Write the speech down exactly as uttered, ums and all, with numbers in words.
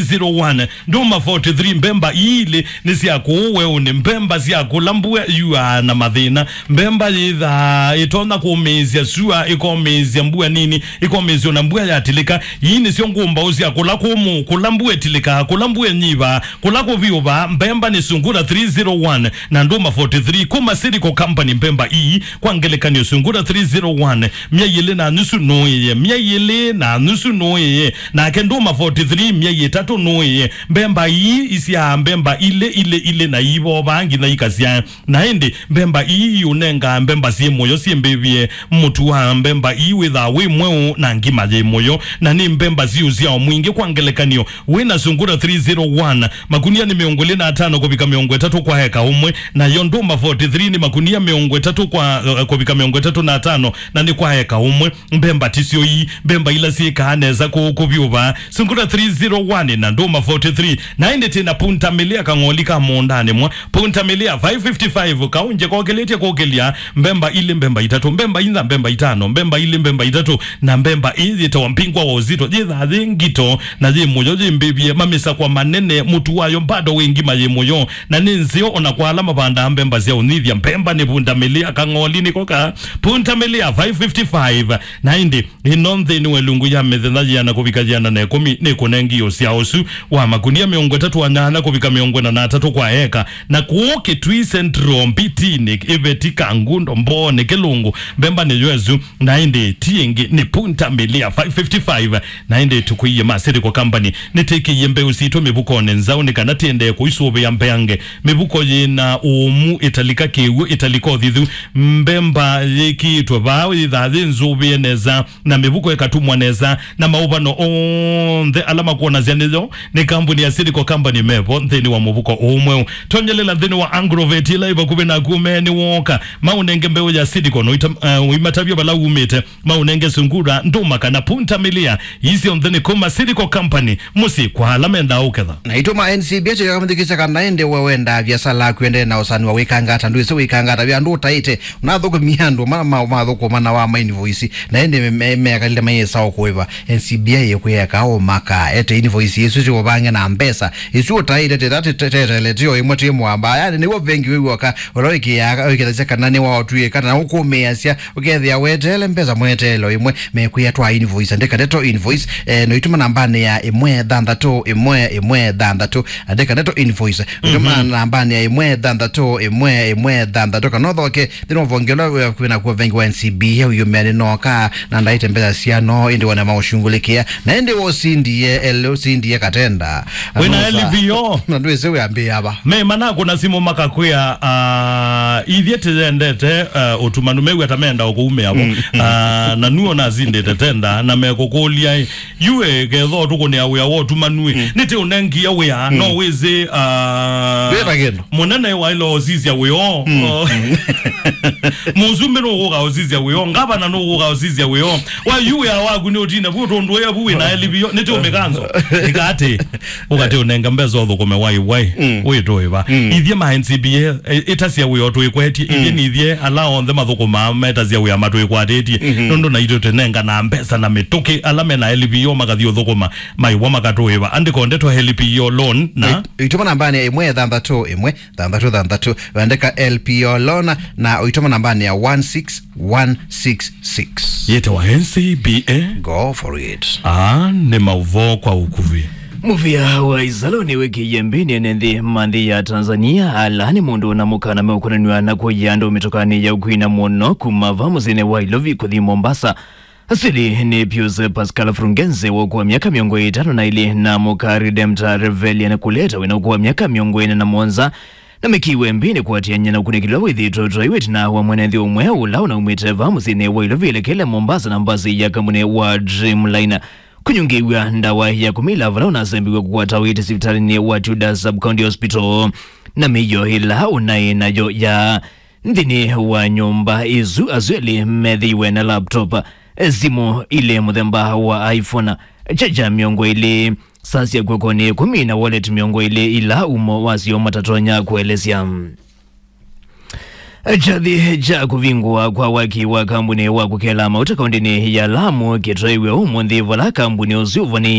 zero one. Ndũma forty three, mbemba ii ilĩ nĩ sya kũũ weũnĩ, mbemba sya kũla mbua yuaa na mathĩna, mbemba yĩthaa ĩtonya kũmĩĩsya sua, ĩkomĩĩsya mbua nini, ĩkomĩĩsya ona mbua yatilĩka. Ii nĩsyo ngũmbaũ sya kũla kũmũ, kũla mbua ĩtilĩkaa, kũla mbua ĩnyivaa, kũla kũvyũvaa. Mbemba nĩ Sungura three zero one na ndũma forty three kuma Silico Company. Mbemba ii, kwa ngelekany'o, Sungura three zero one, myei ĩlĩ na nusu nũĩe, myei ĩlĩ na nusu nũĩe, nake ndũma forty three, myei ĩtatũ nũĩe. Mbemba ii isyaa mbemba ilĩ, ilĩ, ilĩ, na iivovaa nginya ikasyaa. Na ĩndĩ mbemba ii iũnengaa mbemba syĩ mũyo syĩ mbĩvye. Mũtu wa mbemba ii wĩthaa wĩ mweũ na ngima yĩ mũyo, na nĩ mbemba syĩ ũsyao mwingĩ. Kwa ngelekany'o, wĩ na Sungura three zero one, makunia nĩ mĩongo ĩlĩ na atano kũvika mĩongo ĩtatũ kwa eka ũmwe, nayo ndũma forty three nĩ makunia mĩongo ĩtatũ kwa, eh, kũvika mĩongo ĩtatũ na atano, na nĩ kwa eka ũmwe. Mbemba ti syo ii, mbemba ila syĩkaa nesa kũũ kũvyũvaa. Sungura three zero one na ndũma forty three. Na ĩndĩ twĩ na Punta Milia, kang'oli ka mũũndanĩ mwa. Punta Milia five fifty-five, kaũnje kokĩlĩtye kũkĩlya, mbemba ilĩ, mbemba itatũ, mbemba inya, mbemba itano, mbemba ilĩ, mbemba itatũ, na mbemba ĩĩ yĩtawa Mpingwa wa Ũzito, yĩthaa yĩ ngito na yĩ mũyo, yĩ mbĩvye, mamĩsakwa manene, mũtu wayo bado wĩ ngima, yĩ mũyo, na nĩ nzeo ona kwa ala mavandaa mbemba sya ũnyithya. Mbemba nĩ Punta Milia, kang'oli nĩko ka Punta Milia five fifty-five. Na ĩndĩ ĩno nthĩnĩ wa ĩlungu ya mĩthenya yĩana kũvika yĩana na ĩkũmi nĩkũnengie ũsyao ũsu wa makunia mĩongo ĩtatũ na nyanya kũvika mĩongo ĩna na atatũ kwa eka, na kũũ Kitui Central, Mbitinĩ, Iveti, Kangundo, Mbooni, Kĩlungu, mbemba nĩyo ĩsu. Na ĩndĩ ti ĩngĩ, nĩ Punta Milia five fifty-five. Na ĩndĩ tũkwĩie ma Silico Company nĩtĩkĩie mbeũ sitũ mĩvukonĩ nzaũ nĩ kana tĩendee kũisũvĩa mbeange. Mĩvuko yĩ na ũũmu, ĩtalika kĩw'ũ, ĩtalika ũthithu. Mbemba yĩkĩĩtwe vaa yĩthaa yĩ nzũvĩe nesa, na mĩvuko ĩkatumwa nesa, na maũvano onthe ala makwonasya nĩyo nĩ kambuni ya Silico Company mevo nthĩnĩ wa mũvuko ũũ mweũ. Tonyelela nthĩnĩ wa Agrovet ĩla ĩ vakuvĩ naku, ũmee nĩ wooka, maũnenge mbeũ ya Silico, no ita-, eh, ũimatavya vala umĩte, maũnenge Sungura, ndũma kana Punta Milia. Ii syonthe nĩ kuma Silico Company, mũsyĩ kwa ala mendaa ũketha. Na itũma N C B A tũyaka mũthikĩsya kana ĩndĩ we wendaa viasala yaku ĩendee na ũsani wa wĩkangata, ndwĩsĩ wĩkangata vya andũ ũtaĩte, ũnathũkũmia andũ ma, ma, mathũkũma na wa ma invoice, na ĩndĩ me, me, mekalile mayĩsa o kũĩva. N C B A yĩkwĩeka ũmaka, ete invoice isu siũvange na mbesa isu ũtaĩte, tĩta tĩtetele tio ĩmwe twĩ mwamba, yani nĩw'o vengi wĩ w'oka, ũla wĩkĩaa, wĩkĩthasya kana nĩwaotw'ĩka na ũkũmĩasya, ũkethĩa weteele mbesa mweteelo ĩmwe, mekwĩa twa invoice, andĩka ndeto invoice, eh, no itũma nambanĩ ya ĩmwe thanthatũ ĩmwe ĩmwe thanthatũ, andĩka ndeto invoice, itũma nambanĩ ya ĩmwe thanthatũ ĩmwe ĩmwe thanthatũ, kana ũthoke nthĩnĩ wa vonge ũla wĩ nakuo vengi wa N C B A ũyũmea nĩnoka na ndaĩte mbesa syano, ĩndĩ wone maũshungulĩkĩa, na ĩndĩ wosindie ele ũsindie katenda. Wĩna L P O. Na ndwĩsĩ wĩambĩĩa va. Me manakũna simũ makakwĩa, ah, ithyĩ tĩyendete, ah, ũtumanu, mew'a ta menda o kũumĩa vo. Ah, na nuo nasindĩte tenda, na mekũkũlya, ĩ, yu ĩ, ketho tũkũnĩa wĩa wa ũtumanu ĩ, nĩtĩ ũnengie wĩa, no wĩsĩ, ah, mũnene waĩle ũsisya wĩoo. Mũsumbĩ nũkũka ũsisya wĩoo, ngavana nũkũka ũsisya wĩoo. Wa yu wĩa waku nĩ ũtine vu tũndũ ĩa vu wĩna L P O, nĩtĩ ũmĩkanzo. Ĩkatĩ. Ũkatĩ ũnenga mbesa ũthũkũme wai wai, wĩtũĩva. Ithyĩ ma N C B A, ĩ-, ĩtasya wĩa ũtwĩkwetye, ithyĩ nĩ ithyĩ ala onthe mathũkũmaa metasya wĩa matwĩkwatĩtye. Nũndũ naitũ tũnenganaa mbesa na mĩtũkĩ, ala mena L P O makathi ũthũkũma, maiwa makatũĩva. Andĩko ndeto L P O loan na itũma nambanĩ ya ĩmwe thanthatũ ĩmwe thanthatũ thanthatũ, wandĩka L P O loan na ũitũma nambanĩ ya one six one six six. Yĩtawa N C B A. Go for it. Aa nĩ maũvoo kwa ũkuvĩ. Mũvĩa wa Isaloni wĩkĩie mbĩnĩ ene nthĩ ma nthĩ ya Tanzania, ala nĩ mũndũ na mũkana meũkonanw'a na kũya andũ mĩtokanĩ ya ũkwina mũno kuma va mũsyĩnĩ wa Ilovi kũthi Mombasa. Asili nĩ Pius Pascal Frungenze wa ũkũũ wa myaka mĩongo ĩtano na ĩlĩ na mũka Redempta Revelian Kuleta wĩna ũkũũ wa myaka mĩongo ĩna na mũonza. Na mekiwe mbĩnĩ kũatĩanĩa na ũkunĩkĩlwa wĩthĩtwe ũtwaiwe ĩtina wa mwene nthĩ ũmwe ũla ũnaumĩte vaa mũsyĩnĩ wa Ilovi elekele Mombasa na mbasi ya kambuni wa Dreamliner kũnyungĩw'a ndawa ya kũmila vala ũnasembiwe kũkwata ũiiti sivitalĩnĩ wa Chuda Sub-County Hospital. Na mĩio ĩla ũnaĩ nayo ya nthĩnĩ wa nyũmba ĩsu, asu elĩ methĩiwe na laptop, simũ ilĩ mũthemba wa iPhone, charger mĩongo ĩlĩ, saa sya kw'okonĩ ĩkũmi na wallet mĩongo ĩlĩ ila umo wasyo matatonya kũelesya. Kyathĩ kya kũvingũa kwa waki wa kambuni wa kũkela mauta kaũndĩnĩ ya Lamu kĩtwaiwe ũmũnthĩ, vala kambuni ũsu ũvani